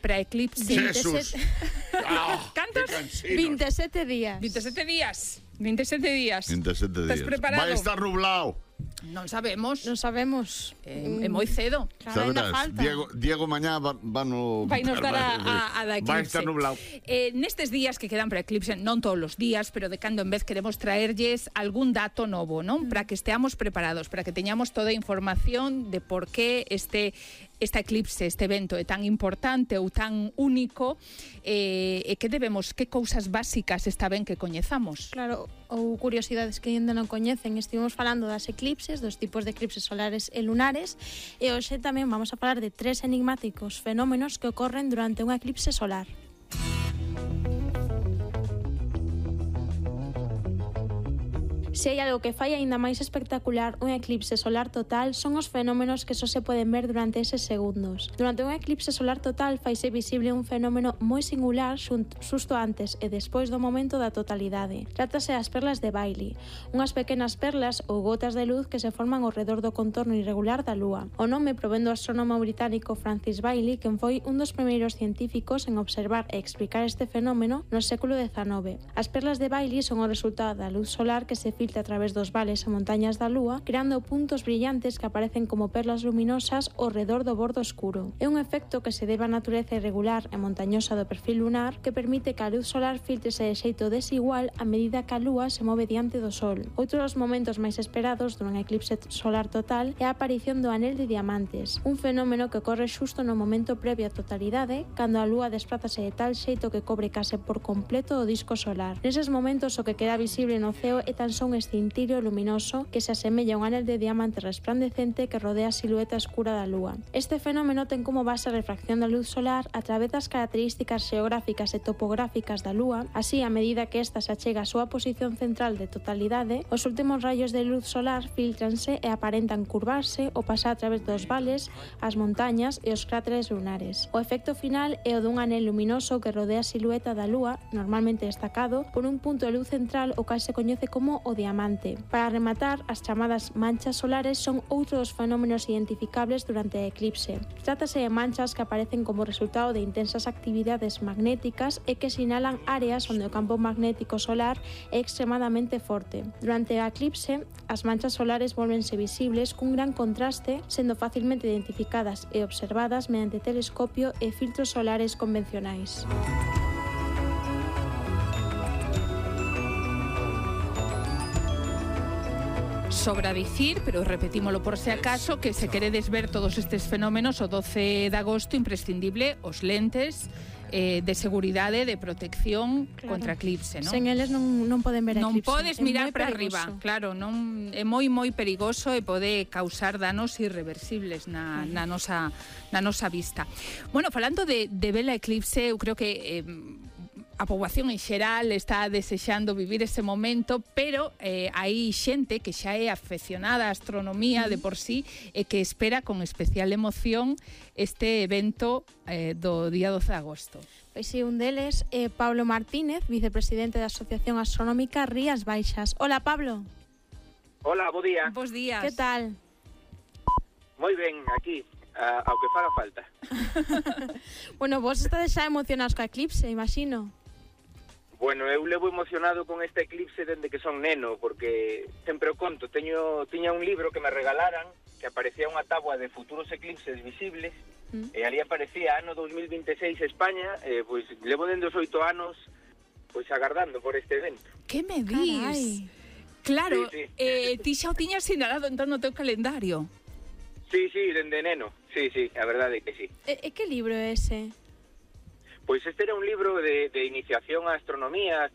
Para eclipse. Jesús. ¿Cantos? 27 días. 27 días. 27 días. 27 días. Estás preparado? Vai estar nublado. Non sabemos. Non sabemos. É moi cedo. Claro, ainda falta. Diego mañá vai nos dar a da eclipse. Vai estar nublado. Nestes días que quedan para eclipse, non todos os días, pero de cando en vez queremos traerlles algún dato novo, non? Para que esteamos preparados, para que teñamos toda a información de por qué este eclipse, este evento é tan importante ou tan único, e que cousas básicas está ben que coñezamos. Claro, ou curiosidades que ainda non coñecen. Estivemos falando das eclipses, dos tipos de eclipses solares e lunares, e hoxe tamén vamos a falar de 3 enigmáticos fenómenos que ocorren durante un eclipse solar. Se hai algo que fai aínda máis espectacular un eclipse solar total son os fenómenos que só se poden ver durante eses segundos. Durante un eclipse solar total faise visible un fenómeno moi singular xusto antes e despois do momento da totalidade. Trátase das perlas de Bailey, unhas pequenas perlas ou gotas de luz que se forman ao redor do contorno irregular da Lúa. O nome provén do astrónomo británico Francis Bailey, quen foi un dos primeiros científicos en observar e explicar este fenómeno no século XIX. As perlas de Bailey son o resultado da luz solar que se filtra a través dos vales e montañas da Lúa, creando puntos brillantes que aparecen como perlas luminosas ao redor do bordo escuro. É un efecto que se debe á natureza irregular e montañosa do perfil lunar que permite que a luz solar filtrese de xeito desigual a medida que a Lúa se move diante do Sol. Outro dos momentos máis esperados dun eclipse solar total é a aparición do anel de diamantes, un fenómeno que ocorre xusto no momento previo á totalidade, cando a Lúa desprázase de tal xeito que cobre case por completo o disco solar. Neses momentos o que queda visible no ceo é tan só un escintillo luminoso que se asemella a un anel de diamante resplandecente que rodea a silueta escura da Lúa. Este fenómeno ten como base a refracción da luz solar a través das características xeográficas e topográficas da Lúa. Así, a medida que esta se achega á súa posición central de totalidade, os últimos rayos de luz solar filtranse e aparentan curvarse ou pasar a través dos vales, as montañas e os cráteres lunares. O efecto final é o dun anel luminoso que rodea a silueta da Lúa, normalmente destacado por un punto de luz central o cal se coñece como o diamante. Para rematar, as chamadas manchas solares son outro dos fenómenos identificables durante o eclipse. Trátase de manchas que aparecen como resultado de intensas actividades magnéticas e que sinalan áreas onde o campo magnético solar é extremadamente forte. Durante o eclipse, as manchas solares volvense visibles cun gran contraste, sendo facilmente identificadas e observadas mediante telescopio e filtros solares convencionais. Sobra dicir, pero repetímolo por se acaso, que se queredes ver todos estes fenómenos o 12 de agosto, imprescindible os lentes de seguridade, de protección contra eclipse, non? Sen eles non poden ver eclipse. Non podes mirar para arriba, claro, non é moi perigoso e pode causar danos irreversibles na nosa vista. Bueno, falando de vela eclipse, eu creo que a poboación en xeral está desexando vivir ese momento, pero hai xente que xa é afeccionada á astronomía de por sí e que espera con especial emoción este evento do día 12 de agosto. Pois si, un deles é Pablo Martínez, vicepresidente da Asociación Astronómica Rías Baixas. Hola, Pablo. Hola, bo día. Bos días. Que tal? Moi ben, aquí, ao que faga falta. Bueno, vos estades xa emocionados co eclipse, imagino. Bueno, eu levo emocionado con este eclipse dende que son neno, porque sempre o conto, tiña un libro que me regalaran, que aparecía unha táboa de futuros eclipses visibles, e ali aparecía ano 2026 España, pois levo dende os 8 anos pois agardando por este evento. Que me dis? Carai. Claro, sí. Ti xa o tiñas sinalado entón no teu calendario. Sí, dende neno, sí, a verdade é que sí. E que libro é ese? Pois este era un libro de iniciación á astronomía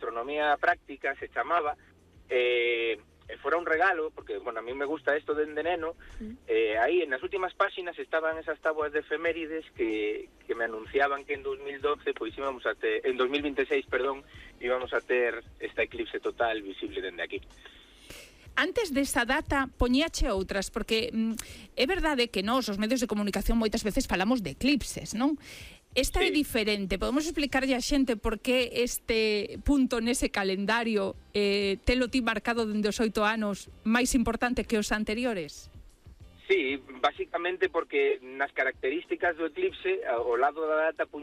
práctica, se chamaba, fora un regalo, porque, bueno, a mí me gusta isto dende neno, aí, nas últimas páxinas estaban esas táboas de efemérides que me anunciaban que en 2012, pois íbamos a ter, en 2026, perdón, íbamos a ter esta eclipse total visible dende aquí. Antes desta data, poñíache outras, porque é verdade que nós, os medios de comunicación, moitas veces falamos de eclipses, non? Esta é diferente. Podemos explicarlle a xente por que este punto nese calendario telo ti marcado dende os 8 anos máis importante que os anteriores? Sí, basicamente porque nas características do eclipse, ao lado da data